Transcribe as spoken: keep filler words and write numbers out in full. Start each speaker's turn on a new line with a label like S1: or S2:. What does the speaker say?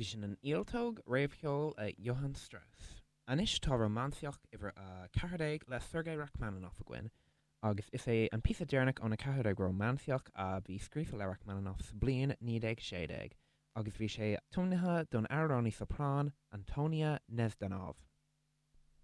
S1: Bhí sin an Ialtóg réamhcheol le Johann Strauss. Anois tá rómánsaíocht uimhir a ceathair déag le Sergei Rachmaninoff againn, agus is é an píosa deireanach óna ceathair déag rómánsaíocht a bhí scríofa le Rachmaninoff sa bliain naoi déag sé déag, agus bhí sé tiomnaithe don amhránaí soprán Antonia Nezdanov.